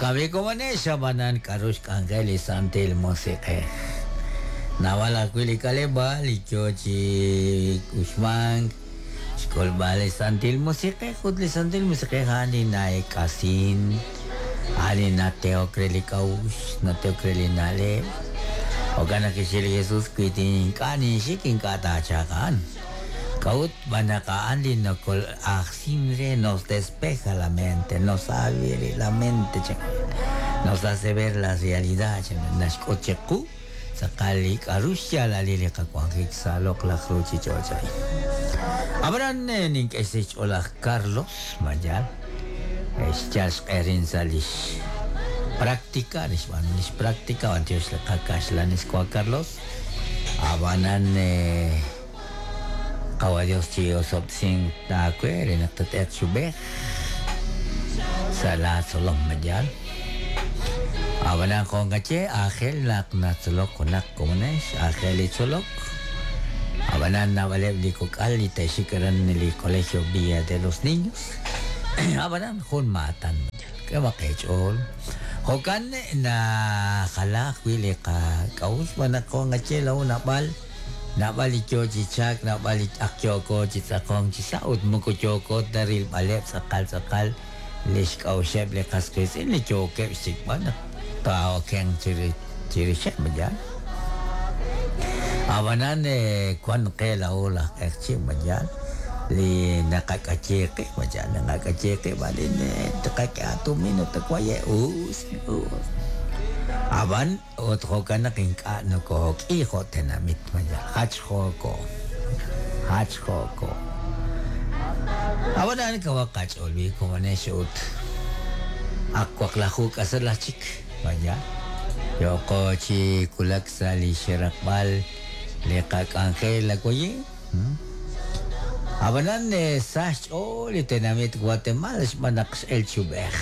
Jo'kan b'i' komonex, ab'anan k'a'ru xk'anjel li Santil Musiq'ej? Naab'al ajwi' li k'aleb'aal li yoo chi uxmank xk'ulb'al li Santil Musiq'ej, ut li Santil Musiq'ej a'an li na'eek'asin, a'an li natehok re li k'a'uxl, natehok re li na'leb'. Jo'kan naq kixye li Jesus, wi ink'a' ninxik, ink'a' taachalq a'an. K'a'ut? Xb'aan naq a'an li nokol'ajsin re, nos despeja la mente, nos abre la mente, nos hace ver la realidad, naxk'ut chiqu tz'aqal li k'a'ru xyaalalil li qawanjik sa' loq'laj ruchich'och' a'in. Ab'anan nink'e xsahil xch'ool laj Carlos Mayal, xyal xq'e rin sa' lix práctica, li xb'aanu lix práctica, b'antiox li qakaxlanis wa Carlos. Ab'anan Qawa' Dios chi osob'tesink aawe re naq tat'eeq chi ub'ej sa' laa tzolom, ma yaal? Ab'anan jo' nqaye, aajel naq natzolok junaq komonex, aajel li tzolok. Ab'anan naab'aleb' li kok'al li te'xik aran li Colegio Villa de los Niños, ab'anan jun maatan, ma yaal? K'ehomaq eech'ool. Jo'kan najala ajwi' li qak'a'uxl xb'aan naq jo' nqaye laa'o naab'al Naab'al li yoo chi chalk, naab'al li ak yooko chi tz'aqonk chi sa' ut moko yooko ta rilb'aleb' tz'aqal tz'aqal lix k'a'uxeb' li qas qiitz'in li yookeb' xsik'b'al naq taa'okenq chirixeb', ma yaal? A'b'anan wan qe laa'o laj q'eqchi', ma yaal? Li naqak'ayi qib', ma yaal? Naqak'ayi qib' arin tqak'e aatumin ut waye' us, us. A'b'an Ut jo'kan naq ink'a' nokook'i jo' tenamit, malaj jachjooko, jachjooko. Ab'anan kawaq qach'ool wi komonex ut ak waqlaju k'asal aj chik, malaj yooko chi wulak sa' li xraqb'al li qak'anjel awaye'. Ab'anan sa xch'ool li tenamit Guatemala xb'aan naq x'el chi ub'ej.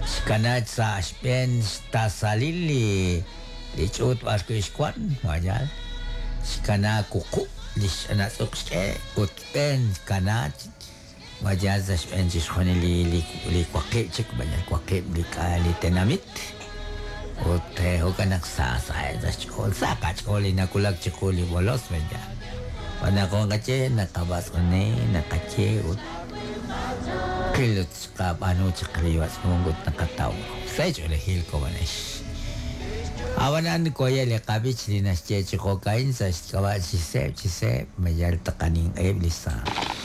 Xkana sa' xb'een xtasalil li li ch'uut b'arwi' xwan, mayal. Xkana wuqub' li xch'anatz'uq xk'e ut b'een xkana mayal sa' xb'een chixjunil li li li waqib' chik, mayal waqib' li k'a li tenamit. Ut jo'kan naq sa saheb' sa' xch'ool, sa qach'ool li nawulak chiqu li bolos, mayal. Xb'aan naq jo' naqaye, naqab'atz'une, naqaye ut qil ut xqab'aanu chaq li b'atz'unk ut naqataw ru. Sa' ch'oolejil komonex. Ab'anan waye' li qab'ich li naxye chi jo'ka'in sa' xk'ab'a' chi seeb' chi seeb' ma yal taqaninq'eheb' li saaj.